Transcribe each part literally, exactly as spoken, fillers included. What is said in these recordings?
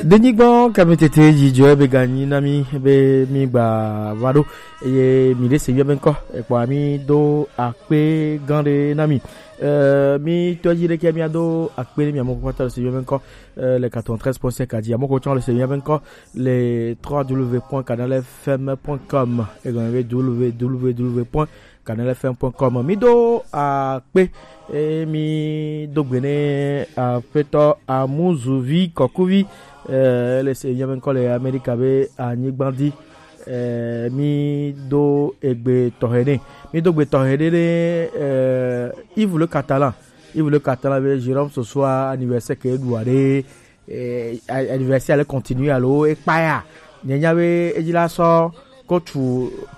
Denyigba kamitete yi jɔ ebe ganyi na mi be mi gba va ɖo eye mi ɖe se yɔ be ŋkɔ ekpɔ mi do akpe gã ɖe na mi. Euh, mi tɔ yi ɖe ke mi ado akpe ne mi amoko kpata se yɔ be ŋkɔ euh, le quatre-vingt-treize point cinq a di amoko tsɔ le se yɔ be ŋkɔ le trois w point canal f m point com et w w w point canal f m point com. Mi do akpe e mi do gbe ne aƒetɔ Amuzuvi Kɔkuvi eh, le se yɔ be ŋkɔ le Amerika be anyigba di eh, mi do egbe tɔxɛ ne mi do gbe tɔxɛ ne ne eh, Yves le Catalan. Yves le Catalan be Jérôme ce soir anniversaire ke ɖu aɖe eh, anniversaire le continue alo ekpaya nyanya be edzi la sɔ coach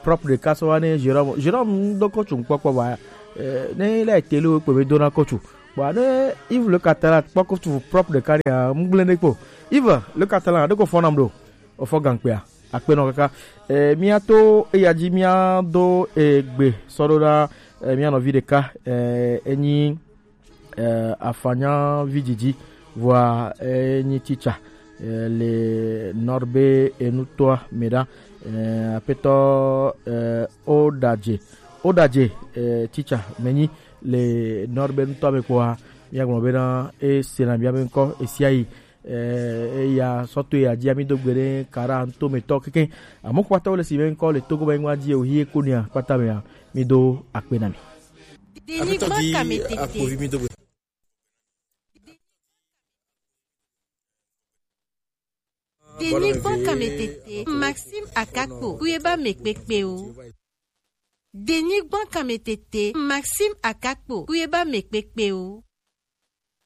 propre ɖeka sɔ va ne Jérôme. Jérôme do coach ŋkpɔkpɔ va eh, ne le tele wo kpe be dona coach. Bon ne Yves le Catalan kpɔ coach propre ɖeka ne ŋgble ne kpo. Yves le Catalan ɖeko fɔ nam ɖo. Ofɔ gankpea akpenɔ kaka eh, mia to eya dzi mia do egbe sɔ ɖo na eh, mia nɔvi ɖeka eh, enyi eh, afanya vididi vɔa enyi teacher eh, le nɔrbe enutɔa me ɖa eh, aƒetɔ eh, odadze odadze eh, teacher menyi le nɔrbe enutɔa me kpɔa miagblɔ bena esena mia be ŋkɔ esiayi eh, eya sɔto ya dzi ami do gbe ɖe kara ŋutometɔ keke amewo kpata wole si be ŋkɔ le Togo be ŋua dzi o hie konia kpata mea mi do akpe na mi. Denyigba kame tete. Denyigba kame tete. Maxime Akakpo, kuyeba me kpekpe o. Denyigba kame tete. Maxime Akakpo, kuyeba me kpekpe o.